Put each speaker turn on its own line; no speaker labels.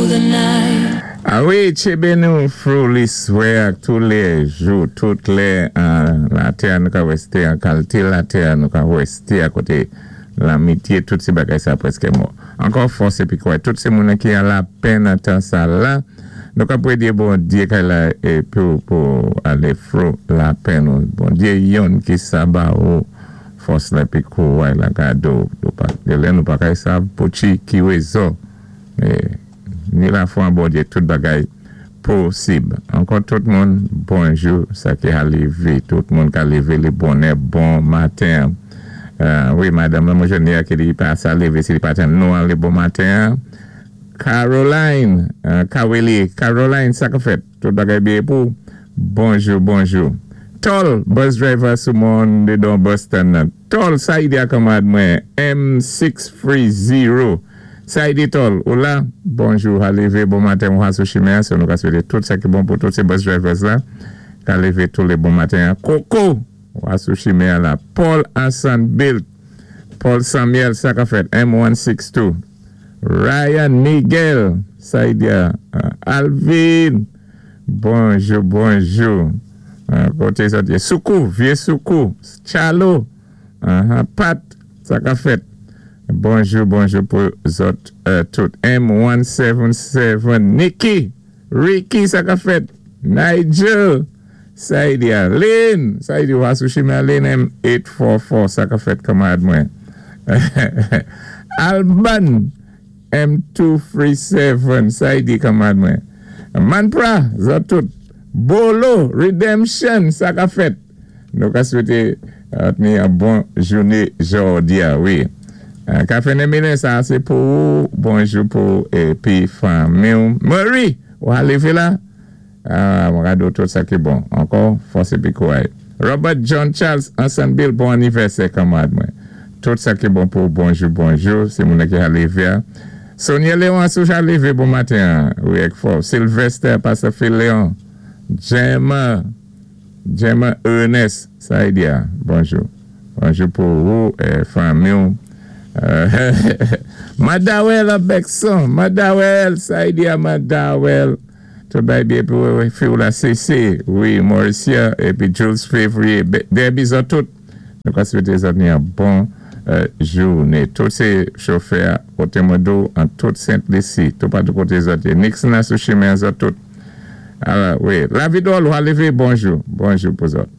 the night.
A wi, tchébé nou fwou liswè ak tou lé jou, tout lè an latè nou ka wè sé an kalité latè nou ka wè sé a koté lamitié tout sé bagay sa pwèskè mò. Ankò fòs épi kwè tout sé moun ki an lapenn an tan sa la nou ka pwédyé Bondyé kay la épi pou alé fwou lapenn ou Bondyé yonn ki sa ba ou fòs la épi kouray la gade ou de lè nou pa kay sav pou ki wézon ni lafwa an Bondyé tout bagay posib. Ankò tout moun bonjou sa ki a lévé tout moun ka lévé lé bonnè bon maten. Wi madanm lan mwen jwenn li a ki li pa sa lévé si li pa tann nou an lé bon maten. Caroline Kaweli Caroline sa ka fèt tout bagay byen pou bonjou bonjou. Tol bus driver sou mòn dédan Boston nan Tol sa ide a kanmarad mwen M630 sa ide Tol ou la bonjou ha lévé bon maten ou ha sou chimen an so nou ka swété tout sa ki bon pou tout sé bus drivers la ka lévé tou lé bon maten an Koko ou ha sou chimen an la Paul Ansan Bilt Paul Samuel sa ka fèt M162 Ryan Miguel sa ide a Alvin bonjou bonjou koté zòt yé Soukou vyé Soukou Tchalo Pat sa ka fèt bonjou bonjou pou zòt tout M177 Nicky Ricky sa ka fèt Nigel sa ide a Lynn sa ide ou a sou chimen Lynn M844 sa ka fèt kanmarad mwen Alban M237 sa ide kanmarad mwen Manpra zòt tout Bolo Redemption sa ka fèt nou ka swété ni an bon jouné jòdi a wi Kafé nen minen sa sé pou ou bonjou pou épi fanmi ou Marie ou a lévé la mwen ka di ou tout sa ki bon ankò fòs épi kouray Robert John Charles Ansann Bill bon anivèsè kanmarad mwen tout sa ki bon pou ou bonjou bonjou sé moun ki a lévé a Sonia Léon sou ja lévé bon maten an wi ak fò Sylvester Pastor Phil Léon Gemma Gemma Ernest sa ide a bonjou bonjou pou ou fanmi ou Madawel an Bèkson Madawel sa ide a Madawel tout bagay byen pou fi ou la CC wi Mauricia épi Jules Février Debbie zòt tout nou ka swété zòt ni an bon jouné tout sé chofè a koté mwen di ou an tout Sent Lisi toupatou koté zòt yé Nixon a sou chimen an zòt tout ala wi lavi dwòl ou a lévé bonjou bonjou pou zòt.